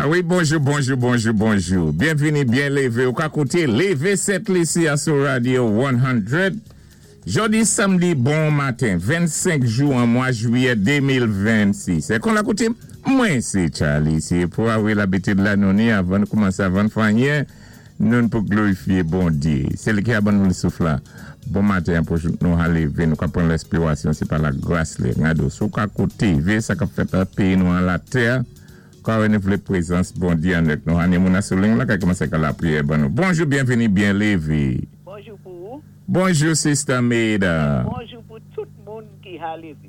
A wi, bonjou, bonjou, bonjou, bonjou. Byenvini, byen lévé. Ou ka kouté Lévé Sent Lisi a sou Radio 100. Jòdi samdi bon maten, 25 jou an mwa jwiyè 2026. É kon lakoutim, mwen sé Charly. Sé pou a wi labitid la nou ni avan nou koumansé avan n fè anyen, noun pou glorifyé Bondyé. Sé li ki a ban nou souf la. Bon maten an pou jouk nou ha lévé, nou ka pran lèspirasyon sé pa lagras li. Gado, si w ka kouté, véyé sa k ap fèt an péyi nou an latè, ka wè nou vlé prezans Bondyé annèk nou. Ha ni moun a sou ling la ka koumansé ka lapriyè ban nou. Bonjou, byenvini, byen lévé. Bonjou pou ou. Bonjou Sister Maida. É bonjou pou tout moun ki ha lévé.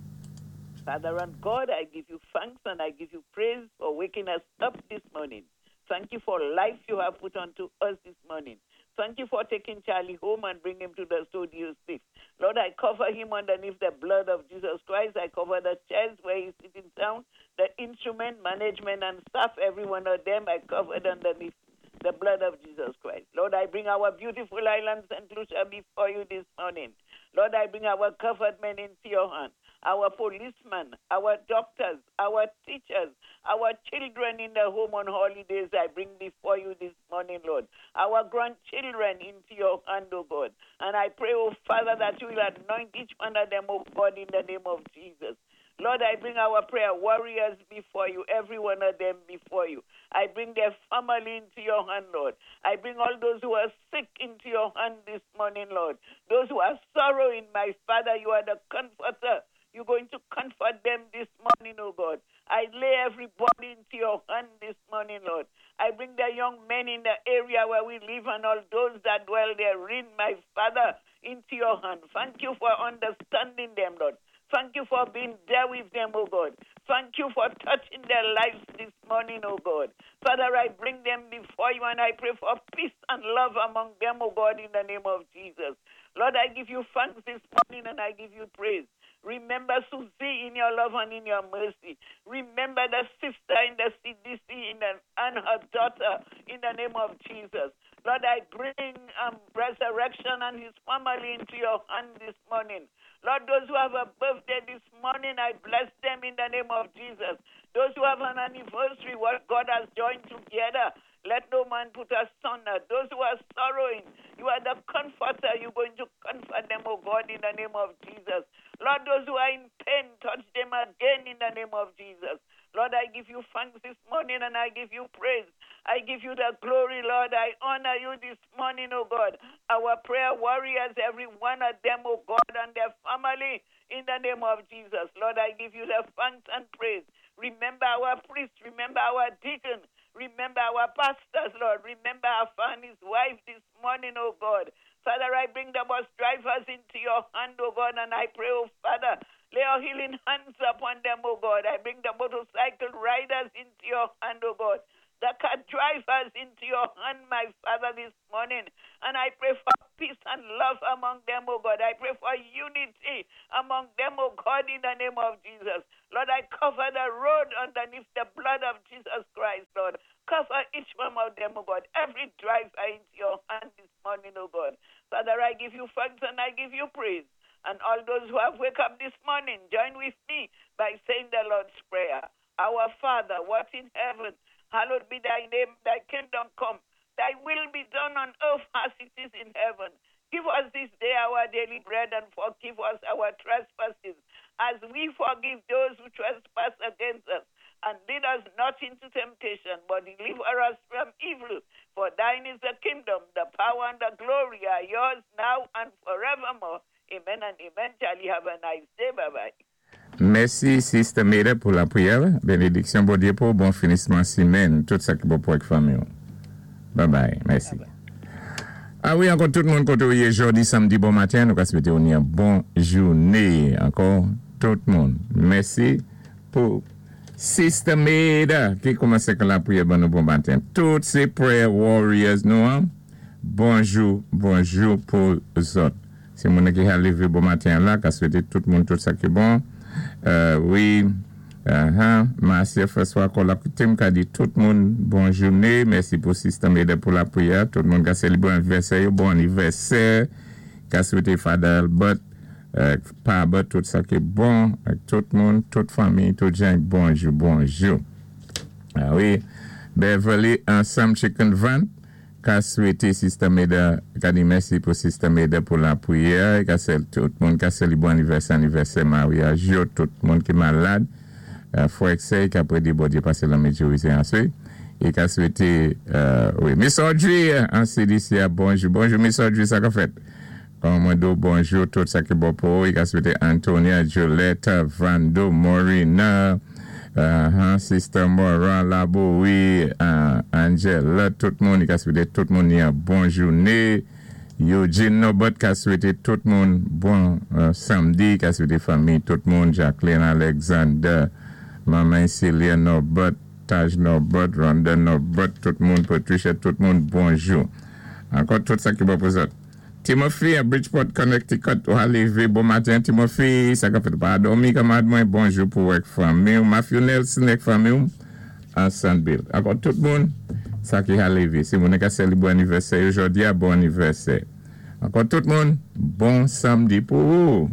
Father and God, I give you thanks and I give you praise for waking us up this morning. Thank you for life you have put unto us this morning. Thank you for taking Charlie home and bring him to the studio safe. Lord, I cover him underneath the blood of Jesus Christ. I cover the chairs where he's sitting down, the instrument, management, and staff, every one of them I covered underneath the blood of Jesus Christ. Lord, I bring our beautiful island, St. Lucia, before you this morning. Lord, I bring our government into your hand, our policemen, our doctors, our teachers, our children in the home on holidays, I bring before you this morning, Lord. Our grandchildren into your hand, O God. And I pray, O Father, that you will anoint each one of them, O God, in the name of Jesus. Lord, I bring our prayer warriors before you, every one of them before you. I bring their family into your hand, Lord. I bring all those who are sick into your hand this morning, Lord. Those who are sorrowing, my Father, you are the comforter. You're going to comfort them this morning, oh God. I lay everybody into your hand this morning, Lord. I bring the young men in the area where we live and all those that dwell therein, my Father, into your hand. Thank you for understanding them, Lord. Thank you for being there with them, oh God. Thank you for touching their lives this morning, oh God. Father, I bring them before you and I pray for peace and love among them, oh God, in the name of Jesus. Lord, I give you thanks this morning and I give you praise. Remember Susie in your love and in your mercy. Remember the sister in the CDC in the, and her daughter in the name of Jesus. Lord, I bring Resurrection and his family into your hand this morning. Lord, those who have a birthday this morning, I bless them in the name of Jesus. Those who have an anniversary, what God has joined together, let no man put asunder. Those who are sorrowing, you are the comforter. You're going to comfort them, oh God, in the name of Jesus. Lord, those who are in pain, touch them again in the name of Jesus. Lord, I give you thanks this morning and I give you praise. I give you the glory, Lord. I honor you this morning, oh God. Our prayer warriors, every one of them, oh God, and their family, in the name of Jesus. Lord, I give you the thanks and praise. Remember our priests, remember our deacon, remember our pastors, Lord. Remember our and his wife this morning, oh God. Father, I bring the bus drivers into your hand, oh God, and I pray, oh Father, lay your healing hands upon them, oh God. I bring the motorcycle riders into your hand, oh God. The car drivers into your hand, my Father, this morning. And I pray for peace and love among them, oh God. I pray for unity among them, oh God, in the name of Jesus. Lord, I cover the road underneath the blood of Jesus Christ, Lord. Cover each one of them, oh God. Every driver into your hand this morning, oh God. Father, I give you thanks and I give you praise. And all those who have wake up this morning, join with me by saying the Lord's Prayer. Our Father, what in heaven, hallowed be thy name, thy kingdom come, thy will be done on earth as it is in heaven. Give us this day our daily bread and forgive us our trespasses as we forgive those who trespass against us. And lead us not into temptation, but deliver us from evil. For thine is the kingdom, the power, and the glory are yours now and forevermore. Amen and amen. Charlie, have a nice day. Bye bye. Mèsi Sister Meda pou lapriyè la. Benediksyon Bondye pou ou bon finisman simèn tout sa ki bon pou ak fanmi w. Bye bye mèsi. A wi ankò tout moun kote ou ye jodi samdi bon maten nou ka swete ou ni yon bon joune ankò tout moun mèsi pou Sister Meda ki koumanse ak lapriyè ban nou bon maten tout se prayer warriors nou an bonjou bonjou pou zòt. Se moun ki ha leve bon maten an la ka swete tout moun tout sa ki bon wi ahan Marcia François kò lap kite m ka di tout moun bon joune mèsi pou Sista Meda pou lapriyè tout moun ka selebre anivèsè yo bon anivèsè ka swete Father Albert Pa Albert tout sa ki bon ak tout moun tout fanmi tout jan bonjou bonjou. Ah wi. Beverly ansanm Chicken Van ka swété Sister Meda, ka di mèsi pou Sister Meda pou lapriyè, ka sè tout moun ka sè li bon anivèsè, anivèsè maryaj yo, tout moun ki malad, frè ak sè ka prédé Bondyé pasé lanmid jou isi aswé, i ka swété wi Miss Audrey an CDC a, bonjou, bonjou Miss Audrey, sa ka fèt? Mwen di w bonjou, tout sa ki bon pou ou. I ka swété Antonia, Juliette, Vando, Morina, Sister Moran, Laboui, Angela, tout moun. I ka swété tout moun yon bon jouné. Eugene Norbert ka swété tout moun bon samdi. I ka swété fanmi tout moun, Jacqueline Alexander, Manman Celia Norbert, Taj Norbert, Rhonda Norbert, tout moun, Patricia, tout moun, bonjou. Ankò tout sa ki bon pou zòt. Timothy a Bridgeport, Connecticut, ou a lévé bon maten, Timothy, sa ka fèt pa dòmi, kanmarad mwen, bonjou pou ak fanmi ou, Matthew Nelson ak fanmi ou, an Sandbill. Ankò tout moun, sa ki a lévé. Si moun ka sélébwé anivèsè jòdi a, bon anivèsè. Ankò tout moun, bon samdi pou ou.